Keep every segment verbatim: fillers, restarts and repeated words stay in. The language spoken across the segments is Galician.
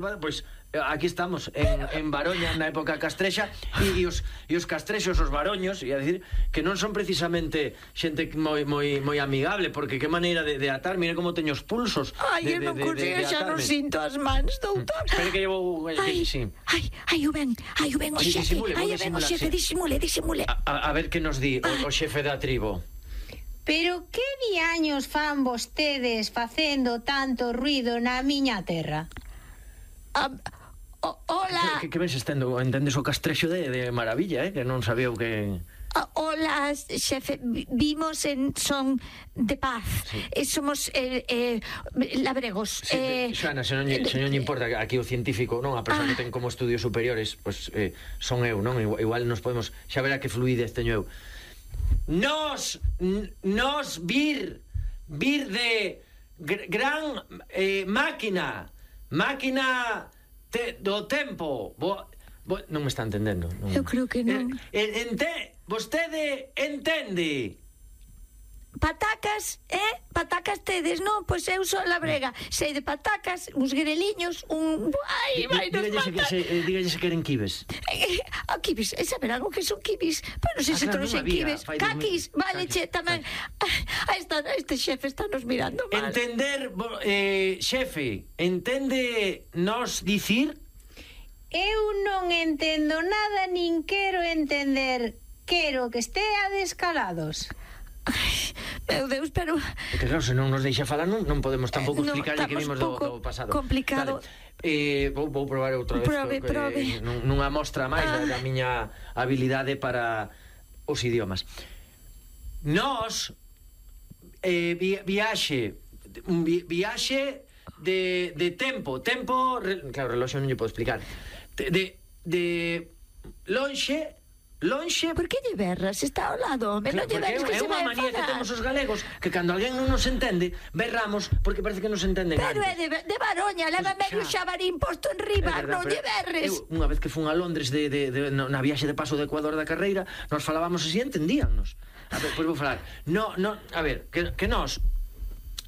Bueno, pois pues, aquí estamos en, en Baroña na época castrexa e, e, os, e os castrexos, os baroños, e a decir que non son precisamente xente moi moi moi amigable, porque que maneira de, de atar, mira como teño os pulsos. Ai, de, eu non de, consigo, de, de xa non sinto as mans, doutor. Espera que llevo... Ai, sí. ai, ai, o ben, ai, o ben o Sí, xefe, disimule, ai, o vou ben o disimular, xefe, sí. disimule, disimule. A, a, a ver que nos di o, o xefe da tribo. Pero que diaños fan vostedes facendo tanto ruido na miña terra? Ah, oh, hola. Que, que, que ves estendo, entendes o castrexo de, de maravilla, eh? Que non sabía o que... Ah, hola, xefe, vimos en Son de Paz. Sí. Eh, somos eh, eh, labregos. Sí, eh, Xoana, se non lle, se non lle importa aquí o científico, non? A persoa Ah. que ten como estudios superiores, pois pues, eh, son eu, non? Igual, igual nos podemos xa verá que fluidez teño eu. Nos nos vir vir de gr gran eh, máquina, máquina te, do tempo. Bo, bo, non me está entendendo. Non. Eu creo que non. Eh, ente, vostede entende? Patacas, eh? Patacas tedes, non? Pois eu sou labrega. Sei de patacas, uns greliños, un... Ai, vai nos Dígalle se, matar. se, eh, dígalle se queren quibes. Eh, a kibis, e saber algo que son kibis. Pero non sei Ah, se claro, todos non en había, kibis. fai dos Caquis, mil- vale, caquis, che, tamén. Ah, esta, este xefe está nos mirando mal. Entender, bo- eh, xefe, entende nos dicir? Eu non entendo nada nin quero entender. Quero que esteades calados. Ai, meu Deus, pero... Porque claro, se non nos deixa falar non, non podemos tampouco Eh, no, explicarlle que vimos estamos do, pouco do pasado. complicado. Vale. Eh, vou, vou probar outra vez Prove, co- prove. Eh, nun, nunha mostra máis Ah. da, da miña habilidade para os idiomas. Nós eh, vi, viaxe un vi, viaxe de, de tempo tempo, re, claro, reloxo non lle podo explicar de, de, de lonxe lonxe Por que lle berras? Está ao lado, me non lle porque berras que é se unha vai manía que enfadar. temos os galegos, que cando alguén non nos entende berramos porque parece que nos entenden Pero é antes. de, de Baroña, leva Pois medio xa. xabarín posto en É riba, verdad, non pero lle berres. eu, unha vez que fun a Londres de, de, de, no, na viaxe de paso do Ecuador da carreira, nos falábamos así, entendíannos. A ver, pois vou falar. No, no, a ver, que, que nós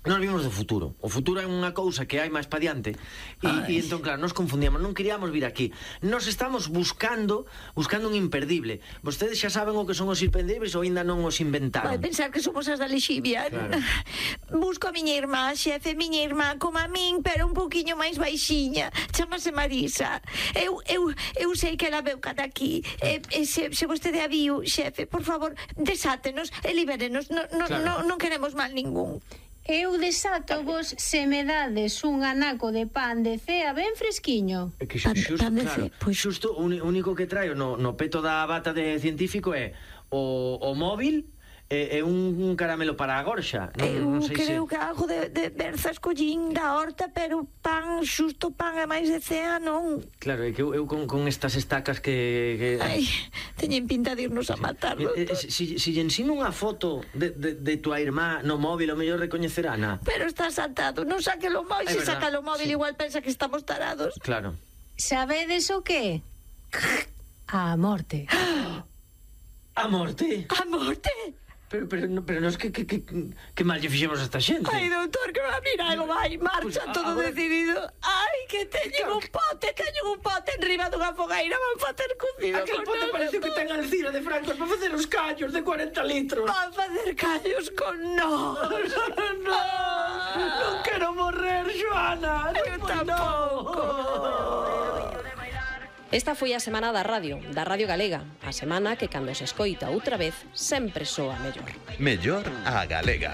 Nós vimos do futuro. O futuro é unha cousa que hai máis pa diante. E, e entón, claro, nos confundíamos. Non queríamos vir aquí. Nos estamos buscando Buscando un imperdible. Vostedes xa saben o que son os imperdibles ou ainda non os Vai inventaron? pensar que somos as da Lexivia. Claro. Busco a miña irmá, xefe, miña irmá como a min, pero un poquinho máis baixiña. Chámase Marisa. Eu, eu, eu sei que ela veu cada aquí. E, e se, se vostede a viu, xefe, por favor, desátenos e libérenos. Non, non, Claro. non, non queremos mal ningún. Eu desato vos se me dades un anaco de pan de cea ben fresquiño. É que Pan- xusto, pan de claro, ce- pois- xusto o uni- único que traio no, no peto da bata de científico é o, o móvil e, e un, un caramelo para a gorxa. Non, Eu non sei creo se... que algo de, de berzas collín da horta, pero pan, xusto pan e máis de cea, non. Claro, é que eu, eu con, con estas estacas que... que... Ai, teñen pinta de irnos a matar, Eh, eh, doutor. si, si lle ensino unha foto de, de, de tua irmá no móvil, o mellor recoñecerá, na. Pero está saltado, non saque lo móvil, É se verdad, saca lo móvil sí. igual pensa que estamos tarados. Claro. Sabedes o que? A morte. A morte? A morte? Pero, pero, no- pero nos que, que, que, que mal lle fixemos a esta xente. Ai, doutor, que va a mirar algo vai, marcha Pois, todo agora- decidido. Ai, que teñen un pote, teñen un pote enriba dunha fogueira, van facer cocido Aquel con pote nós. parece que ten Alcira de Francos para facer os callos de cuarenta litros. Van facer callos con nós. No, non quero morrer, Xoana. Eu tampouco. Esta foi a semana da radio, da Radio Galega. A semana que cando se escoita outra vez sempre soa mellor. Mellor a galega.